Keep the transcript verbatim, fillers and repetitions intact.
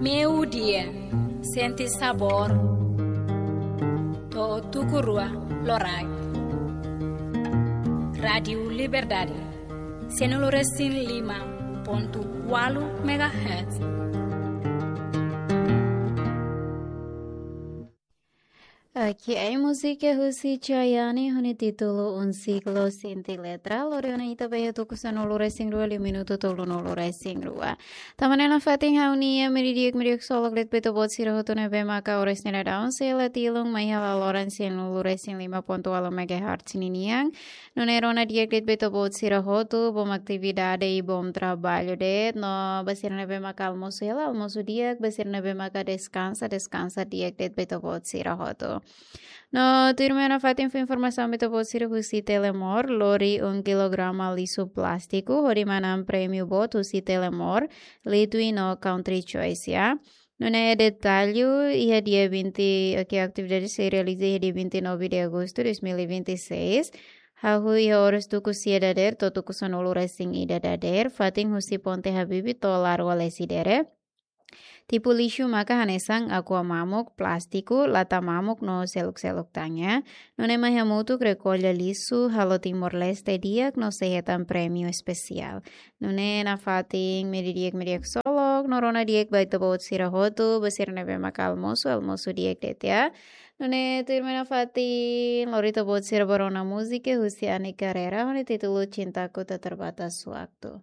Meiudia, sente sabór. To'o tuku rua loraik. Rádiu Liberdade, sanulu-resin-lima pontu ualu megahertz. Oke, ai múzika husi Chayane ho nia títulu Un Siglo Sin Ti Letra, lori ona ita ba iha tuku sanulu-resin-rua liu minutu tolunulu-resin-rua. Tanba ne'e nafatin ha'u-nia meiudia di'ak, meiudia ksolok de'it ba ita-boot sira hotu ne'ebé maka oras ne'e daudaun sei la tilun mai iha laloran sanulu-resin-lima pontu ualu megahertz ninian. Nune'e rona di'ak de'it ba ita-boot sira hotu, bom atividade i bom traballu de'it, no ba sira ne'ebé maka almosu hela, almosu di'ak, ba sira ne'ebé maka deskansa, deskansa di'ak de'it ba ita-boot sira hotu. No tuirmai nafatin fó informasaun ba ita-boot sira husi Telemor, lori um kilograma lixu plástiku hodi manán prémiu boot husi Telemor, Litwin no Country Choice, ya. Nune'e detallu iha dia vinte, oke, atividade sei realiza iha dia vinte e nove de agosto de dois mil e vinte e seis. Hahú iha oras tuku sia dadeer to'o tuku sanulu-resin-ida dadeer, fatin husi Ponte Habibie to'o Largo Lecidere. Tipu lixu maka hanesan aqua mamuk, plástiku, lata mamuk no seluk-seluk tan, ya. Nune'e mai hamutuk rekolla lixu, halo Timor-Leste di'ak no sei hetan prémiu espesiál. Nune'e nafatin meiudia di'ak, meiudia ksolok, no rona di'ak ba ita-boot sira hotu, ba sira ne'ebé maka almosu, almosu di'ak de'it, ya. Nune'e tuirmai nafatin lori ita-boot sira ba rona múzika husi Ani Carreira, ho nia títulu Cintaku Tak Terbatas Waktu.